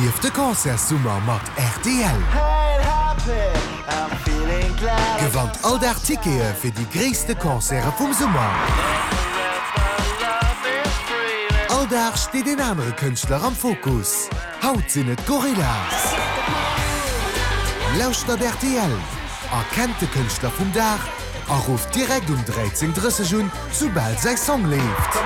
Erlieft de Concertssummer mat rtl! Gewannt all Dag Tickete fir déi gréisste Concerte vum Summer! All Dag steet een anere Kënschtler am Fokus. Haut sinn et d'Gorillaz! Lauschtert rtl, erkennt de Kënschtler vum Dag a rufft direkt um 13:30 un, soubal säi Song leeft.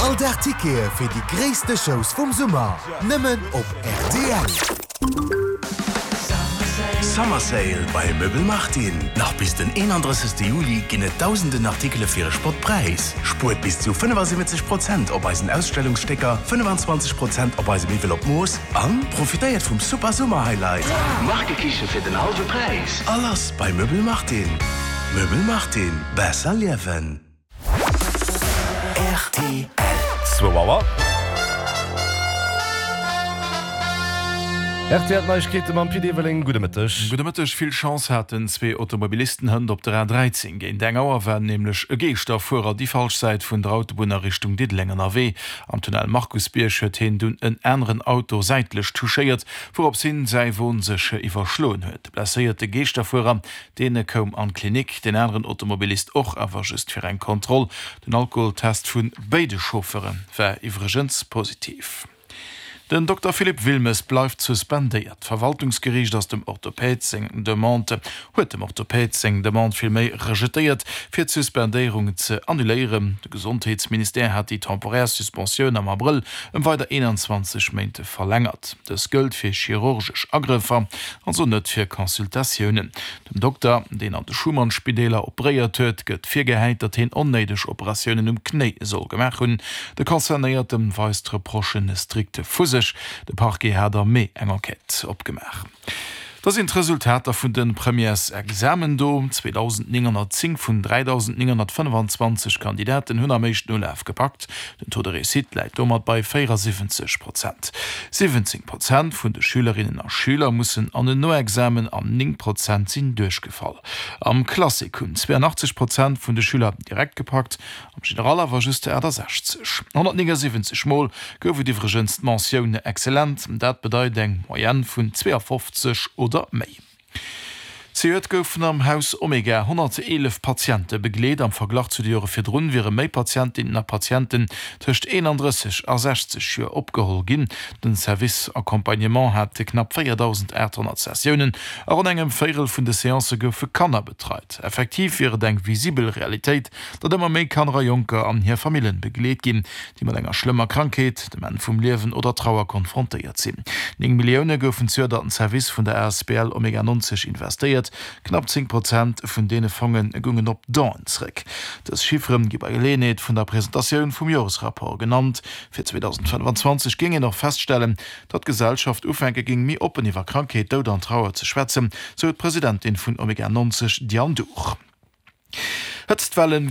All Dag Tickete fir déi gréisste Shows vum Summer, nëmmen op rtl. Summer Sale bei Möbel Martin! Nach bis den 31 Juli ginn et dausenden Artikele fir e Spottpräis. Spuert bis zu 75 Prozent op eisen Ausstellungsstécker, 25 Prozent op eise Miwwel op Mooss an profitéiert vum super Summer Highlight! Markekiche fir den hallwe Präis! A lass bei Möbel Martin! Möbel Martin, besser liewen! Rtl. Zwou Auer. Rtl Neiegkeete mam Pit Everling. Gudde Mëtteg. Gudde Mëtteg. Vill Chance haten zwee Automobilisten hënt op der A13. Géint eng Auer war nämlech e Geeschterfuerer déi falsch Säit vun der Autobunn a Richtung Diddeleng ënnerwee. Am Tunnel Markusbierg huet hien dunn en aneren Auto säitlech touchéiert, wourops hien säi Won sech iwwerschloen huet. De blesséierte Geeschterfuerer Deen koum an d'Klinik, deen aneren Automobilist och, awer just fir eng Kontroll. Den Alkoholtest vu béide Chauffeure war iwwregens positiv. Den Dokter Philippe Wilmes bleift suspendéiert. D'Verwaltungsgeriicht ass dem Orthopäd seng Demande huet dem Orthopäd seng Demande villméi rejetéiert, fir d'Suspendéierung ze annuléieren. De Gesondheetsministère hat déi temporär Suspensioun am Abrëll ëm weider 21 Méint verlängert. Dës gëllt fir chirurgesch Agrëffer. Also net fir Consultatiounen. Dem Dokter, deen an de Schuman-Spideeler operéiert huet, gëtt virgehäit, datt hien onnéideg Operatiounen um Knéi soll gemaach hunn. De Concernéierte weist d'Reprochen strikt vu sech. De Parquet hat am Mee eng Enquête opgemaach. Da sinn d'Resultater vun de Premièresexamen do. 2.910 vun 3.925 Kandidaten hunn am éischten Ulaf gepackt. Den Taux de réussite läit domat bei 74 Prozent. 17 Prozent vun de Schülerinnen a Schüler mussen an en Noexamen an 9 Prozent sinn duerchgefall. Am Classique hunn 82 Prozent vun de Schüler direkt gepackt, am General awer just 68. 179 Mol gouf et iwwregens d'Mentioun excellent, dat bedeit eng Moyenne vun 52 oder méi. Zejoert goufen am Haus Omega 111 Patiente begleet. Am Verglach zu de Jore virdrun wiere méi Patientinnen a Patienten tëscht 31 a 60 Joer opgeholl ginn. Den Service Accompagnement hat knapp 4.800 Sessiounen a ronn engem Véirel vun de Seancë goufe Kanner betreit. Effektiv wier et eng visibel Realitéit, datt ëmmer méi Kanner a Jonker an hir Famillen begleet ginn, déi mat enger schlëmmer Krankheet, dem Enn vum Liewen oder Trauer konfrontéiert sinn. 9 Millioune goufen zejoert an den Service vun der asbl Omega 90 investéiert. Knapp 10 Prozent vun deene Fonge goungen op Donen zréck. Dës Chiffere gi bei Geleeënheet vun der Presentatioun vum Joresrapport genannt. Fir 2025 géing een och feststellen, datt d'Gesellschaft ufänke géing, méi oppen iwwer Krankheet, Doud an Trauer ze schwätzen, sou d'Presidentin vun Omega 90, Diane Dhur. Hëtztwellen.